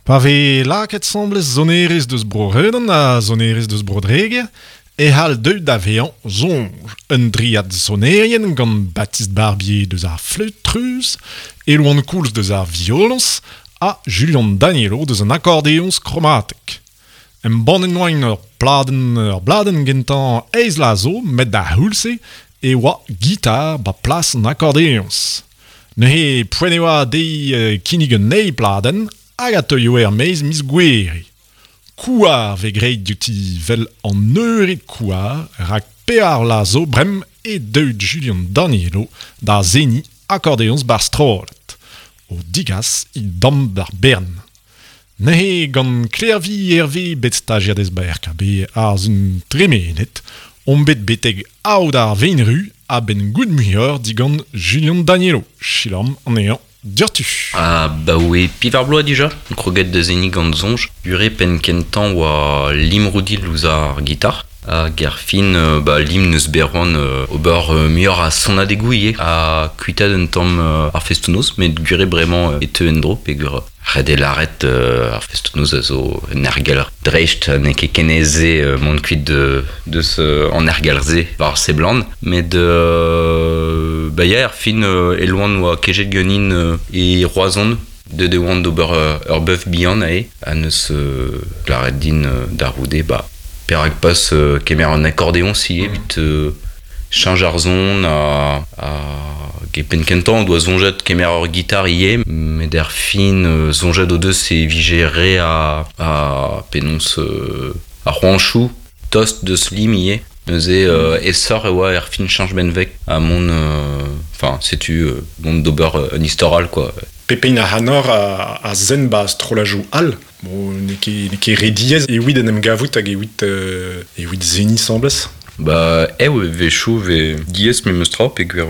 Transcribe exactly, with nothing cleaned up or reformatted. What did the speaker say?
Pa vez lakaet 'sambles sonerezh deus Bro-Redon ha sonerezh deus Bro-Dreger, e c'hall deuet da vezañ soñj un driad sonerien gant Baptiste Barbier deus ar fleüt-treuz, Elouan Koulz deus ar violoñs ha Julian Danielo deus an akordeoñs kromatek. Embannet 'noaint ur pladenn ur bladenn gentañ eizh vloaz zo met d'ar c'houlz-se e oa gitar ba plas an akordeoñs. Neuze poent e oa dezhe kinnig un eil pladenn hag a teuio er-maez miz Gouhere. Kouar vez graet diouti 'vel an eured kouar rak pevar vloaz zo bremañ eo deuet Julian Danielo da seniñ akordeoñs 'bar strollad. O digas e damm d'ar bern. Neuze gant Klervi Hervé bet stajiadez ba R K B ar sizhun tremenet, omp bet betek aod ar Veinru a-benn goût muioc'h digant Julian Danielo. Selaouomp anezhañ diouzhtu. Ah ba oe pevar bloaz dija, kroget da seniñ gant soñj. Ure penn kentañ oa Lim Roudil ouzh ar gitar. Hag ar fin ba lim neus bet c'hoant ober muioc'h a sonadegoù ivez ha kuitaat un tamm ar festoù-noz met gwir eo bremañ e teu en-dro peogwir ret eo lâret ar festoù-noz a zo un aergelc'h dreist n'eo ket ken aes mont kuit deus an aergelc'h-se war seblant met ba ya ar fin Elouan oa kejet ganin e Roazhon deuet e oan d'ober ur beuf bihan aze ha neus lâret din da c'houde ba perak pas kemer un akordeoñs ivez evit cheñch ar son ha hag e penn kentañ o doa soñjet kemer ur gitar ivez met er fin soñjet o deus e vije re a a penaos ar c'hoantoù tost deus lim ivez neuze aesoc'h e oa er fin cheñch benveg ha mont enfin setu mont d'ober un istor all quoi. Pep hini ac'hanoc'h a, a sen ba strollajoù all. Bon, n'eo ket, n'eo ket re diaes evit en em gavout hag evit, euh, evit seniñ 'sambles. Ba ev e wechoù 'vez diaes memes tra peogwir